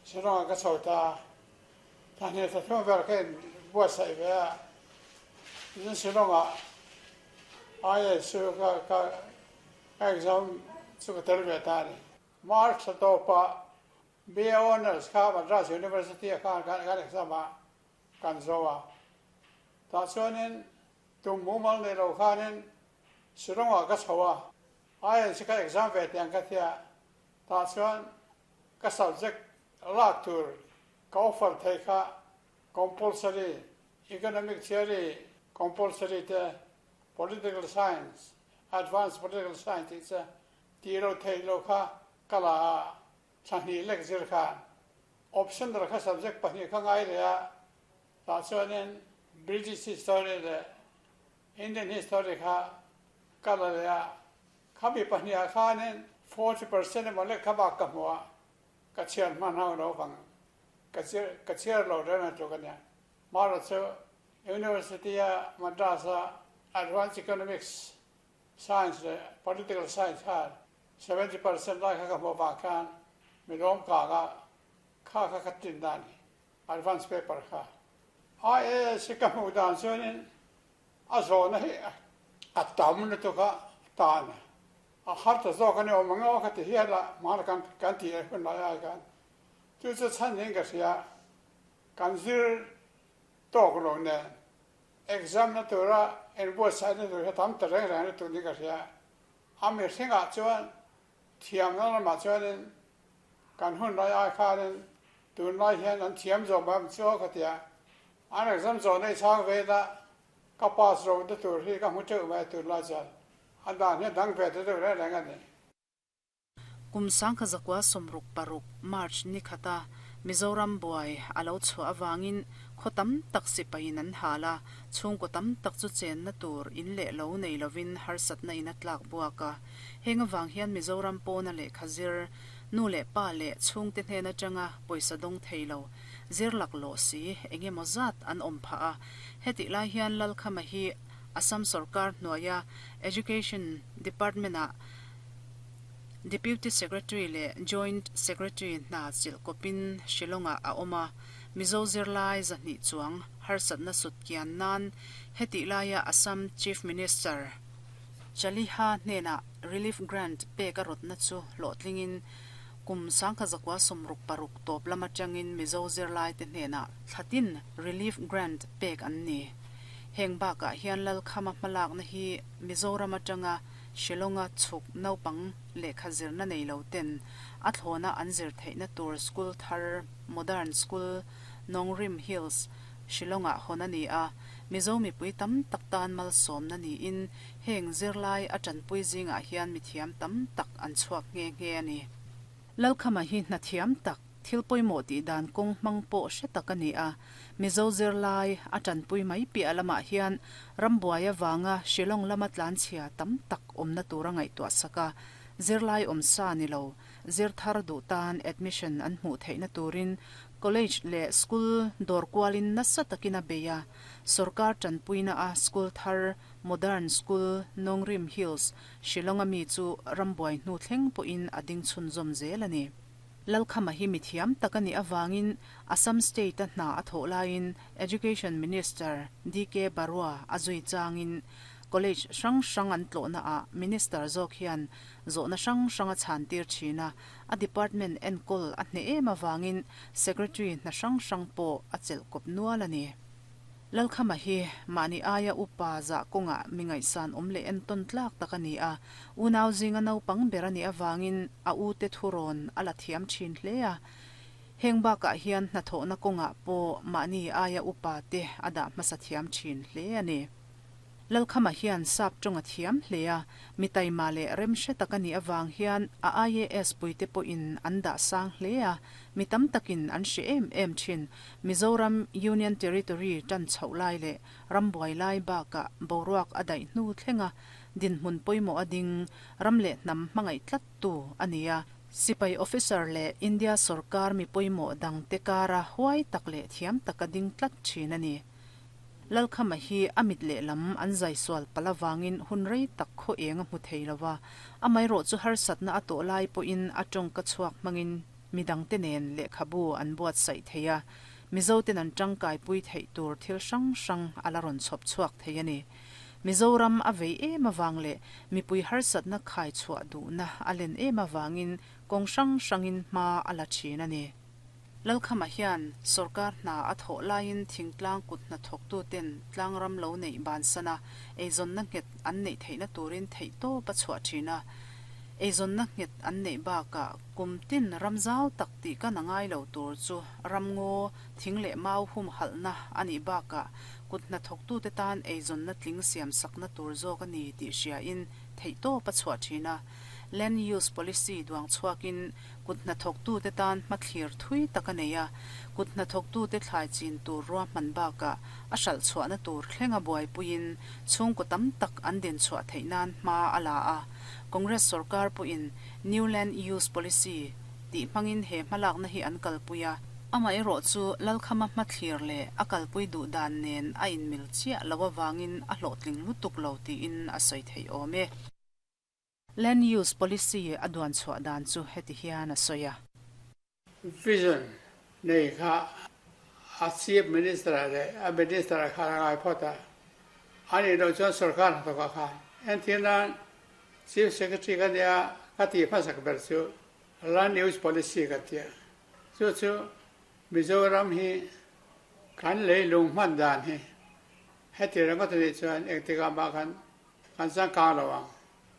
Shillong ah ka chho ta a, thla hnih thla thum vel ka in buatsaih ve a, tin Shillong ah IAS chu ka ka exam chu ka tel ve ta a ni. March thla tawpah BA Honours kha Madras University ah khan kan exam a, kan zo a. Tah chuanin tum mumal nei lo khanin Shillong ah ka chho a, IAS ka exam ve tih ang ka tia, tah chuan ka subject lak tur ka offer thei kha compulsory, economic theory compulsory te, political science, advanced political science tih che tih lo theih lo kha ka la a, thla hnih lek zir khan optional kha subject pahnih kha ngai leh a, tah chuanin British history leh Indian history kha ka la leh a, khami pahnih ah khanin 40% emaw lek kha bak ka hmu a, ka chhiar hman ho lo vang ka ka chhiar lo reng a tluk a nia. Mara chu University a Madras a Advanced Economics Science leh Political Science khan 70% lai kha ka hmuh avang khan mi lawm kang a, kha kha ka tin dan hi Advance paper kha. IAS hi ka hmuh dan chuanin a zawhna hi a tam lutuk a tan a har ta zawk a ni awm ang aw ka ti hial a, hmana kan kan tih leh hun lai ai khan chu chu chhan niin ka hria, kan zir tawk lo nen exam na tura inbuatsaih na tur hi a tam ta reng reng lutuk niin ka hria, a mihringah chuan thiamna lamah chuanin kan hun lai ai khanin tunlai hian an thiam zawk mai awm chu aw ka ti a, an exam zawh na i chhang ve ila ka pass ro na tur hi ka hmu teuh mai a tunlai chuan a dan hi a dang ve ta deuh reng reng a ni. Kum sangkha zakua 66 March ni khata Mizoram buai a lo chhuah avangin khaw tam tak sipaiin an hal a, chhungkaw tam tak chu chenna tur in leh lo nei lovin harsatna in a tlak buak a. Heng avang hian Mizoram pawna lehkha zir, nu leh pa leh chhungte hnen atanga pawisa dawng thei lo, zir laklawh si eng emaw zat an awm phah a. Hetih lai hian Lalkhama hi Assam sorkar hnuaia Education Department-ah Deputy Secretary leh Joint Secretary hna chilh kawpin Shillong-ah a awm a, Mizo zirlai 200 chuang harsatna sut kian nan hetih laia Assam Chief Minister Chaliha hnenah Relief Grant pek a rawtna chu hlawhtlingin kum 1966 tawp lam atangin Mizo zirlaite hnenah thlatin Relief Grant pek an ni. Heng bakah hian Lalkhama hmalakna hi Mizoram atanga Shillong-a chhuk naupang lehkha zirna nei lo ten a thlawna an zir theihna tur school thar Modern School, Nongrim Hills, Shillong-ah hawn a ni a. Mizo mipui tam tak tan malsawmna niin heng zirlai a tanpui zingah hian mithiam tam tak an chhuak nghe nghe a ni. Lalkhama hi hna thiam tak, thil pawimawh tih dan kawng hmang pawh hre tak a ni a. Mizo zirlai a tanpui mai piah lamah hian rambuai avanga Shillong lama tlanchhia tam tak awmna tura ngaihtuah sak a, zirlai awm sa ni lo, zir thar duh tan admission an hmuh theihna turin college leh school dawr kualin nasa takin a bei a. Sorkar tanpuina a school thar Modern School, Nongrim Hills, Shillong-a mi chu rambuai hnu thleng pawhin a ding chhunzawm zel a ni. Lalkhama hi mithiam tak a nih avangin Assam State-a hna a thawh laiin Education Minister DK Barua a zui changin College hrang hrang an tlawhnaah Minister zawk hian zawhna hrang hrang a chhantir thin a, a department enkawl a hneh em avangin Secretary hna hrang hrang pawh a chelh kawp nual a ni. Lalkhama hi mahni aia upa zah kawngah mi ngaihsan awm leh entawn tlak tak a ni a, unau zinga naupang ber a nih avangin a ute thurawn a la thiam thin hle a. Heng bakah hian hnathawhna kawngah pawh mahni aia upa te a dah hmasa thiam thin hle a ni. Lalkhama hian sap tawng a thiam hle a, mi taima leh remhre tak a nih avang hian a IAS puite pawhin an dah sang hle a, mi tam takin an hre em em thin. Mizoram Union Territory tan chhoh lai leh rambuai lai bakah boruak a daih hnu thlenga dinhmun pawimawh a ding, ram leh hnam hmangaih tlattu a ni a. Sipai officer leh India sorkar mi pawimawh dangte kara huai tak leh thiam taka ding tlat thin a ni. Lalkhama hi a mit lehlam an zai sual palh avangin hun rei tak khaw eng a hmu thei lo va, amaherawh chu harsatna a tawh lai pawhin a tawngka chhuak hmangin midangte nen lehkhabu an buatsaih thei a, Mizoten an tangkaipui theih tur thil hrang hrang a la rawn chhawp chhuak thei a ni. Mizoram a vei em avang leh mipui harsatna khai chhuah duhna a len em avangin kawng hrang hrangin hma a la thin a ni. Lalkhama hian sorkar hna a thawh laiin thingtlang kut hnathawktuten tlangram lo neih bansana eizawnna nghet an neih theihna turin theihtawp a chhuah thin a. Eizawnna nghet an neih bakah kum tin ram zau tak tih kan a ngai lo tur chu ramngaw, thing leh mau humhalhna a nih bakah kut hnathawktute tan eizawnna tling siamsakna tur zawk a ni tih hriain theihtawp a chhuah thin a. Land Use Policy duang chhuakin Kut hnathawktute tan hmathlir thui tak a nei a, kut hnathawktute thlai chin tur ruahman bakah a hralh chhuahna tur thlenga buaipuiin chhungkaw tam tak an din chhuah theih nan hma a la a. Congress sorkar pawhin New Land Use Policy tih hmangin he hmalakna hi an kalpui a. Amaherawh chu Lalkhama hmathlir leh a kalpui duh dan nen a inmil chiah lo avangin a hlawhtling lutuk lo tiin a sawi theih awm e. Land Use Policy a duan chhuah dan chu heti hian a sawi a. Vision nei kha a Chief Minister leh a Minister khan a ngai phawt a, a nih loh chuan sorkar hnathawkah khan entir nan Chief Secretary ka nia ka tih hmasak ber chu Land Use Policy ka ti a, chu chu Mizoram hi kan leilung hman dan hi heti ringawt a nih chuan engtikah mah khan Kan changkang lo ang.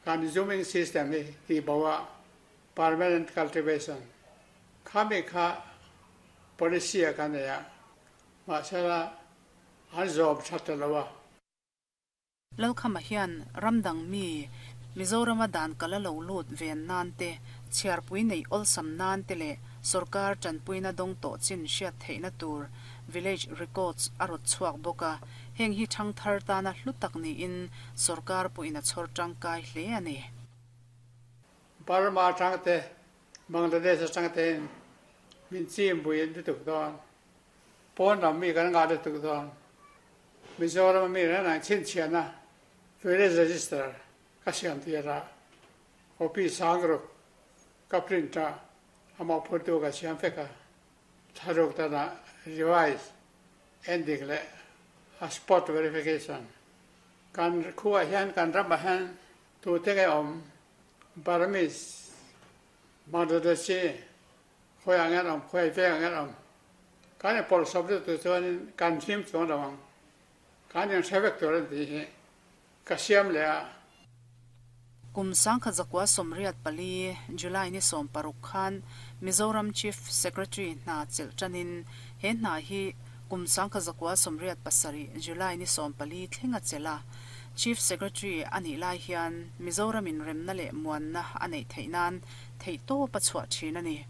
Kan zooming system hi tih bo a permanent cultivation khami kha policy a kan nei a, mahsela an zawm tha ta lo a. Lalkhama hian ram dang mi Mizorama dan kal a lo lut ven nan te, chhiarpui neih awlsam nan te leh sorkar tanpuina dawng tawh chin hriat theihna tur village records a rawt chhuak bawk a. Heng hi thangthar tana hlu tak niin sorkar pawhin a chhawr tangkai hle a ni. Burma atang te, Bangladesh atang tein min chim buin lutuk dawn. Pawn lam mi kan ngah lutuk dawn. Mizoram a mi reng reng chhinchhiahna village register ka siam tir a, copy sang ruk ka print a, amah phurtu ka siam vek a. Thlaruk danah revise, endik leh a spot verification. Kan khuaah hian kan ramah hian tute nge awm? Burmese, Bangladeshi, khawiah nge an awm, khawi vengah nge an awm? Kan inpawlh sawp deuh tur chuanin kan hlim chuang lo ang. Kan inhre vek tur a ni tih hi ka siam leh a. Kum 1984, July ni 16 khan Mizoram Chief Secretary hna chelh tanin he hna hi kum 1987, July ni 14 thleng a chelh a. Chief Secretary a nih lai hian Mizoramin remna leh muanna a neih theih nan theihtawp a chhuah thin a ni.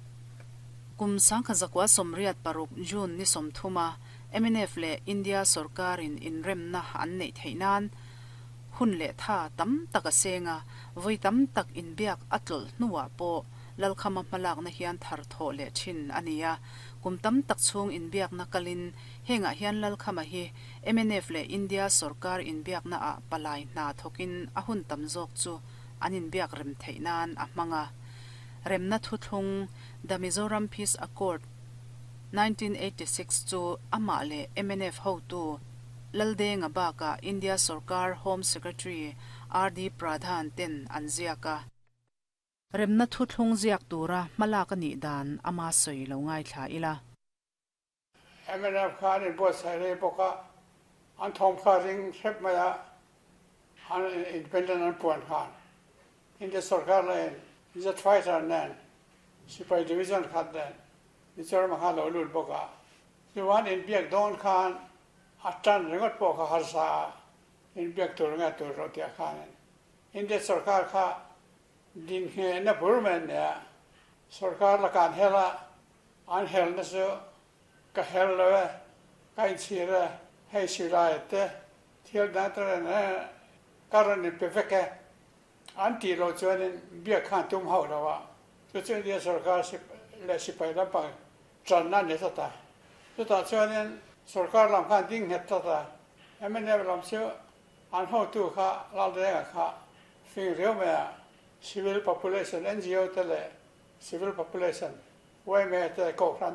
Kum 1986, June ni 30 a mnf leh India sorkarin inremna an neih theih nan hun leh tha tam tak a seng a, vawi tam tak inbiak a tlawlh hnuah pawh Lalkhama hmalakna hian thar thawh leh thin a ni a. Kum tam tak chhung inbiakna kalin hengah hian Lalkhama hi mnf leh India sorkar inbiaknaah palai hna thawkin a hun tam zawk chu an inbiak rem theih nan a hmang a. Remna thuthlung, The Mizoram Peace Accord, 1986 chu amah leh mnf hotu Laldenga bakah India sorkar Home Secretary RD Pradhan ten an ziak a. Remna thuthlung ziak tura hmalak a nih dan ama sawi lo ngaithla ila. Mnf kha an inbuatsaih rei bawk a, an thawm kha ring hrep mai a, an independent an puan khan India sorkar lahin Jet fighter nen sipai division khat nen Mizoram ah khan lo lut bawk a, chuan inbiak dawn khan a tan ringawt pawh kha harsa a, inbiak tur nge tur rawh tih ah khanin India sorkar kha dinhnehna bur mai an nei a, sorkar lakah an hel a, an helna chu ka hel lo e, ka inchhir e, hei silai te thil dang te rawn ka rawn inpe vek e, An tih loh chuanin biak khan tum hauh lo a, chu chu India sorkar leh sipai lampang tanna a ni tlat a. Chutah chuanin sorkar lam khan ding nghet tlat a, mnf lam chu an hotu kha Laldenga kha fing riau mai a, civil population, ngo te leh civil population, Yma te, Kohhran.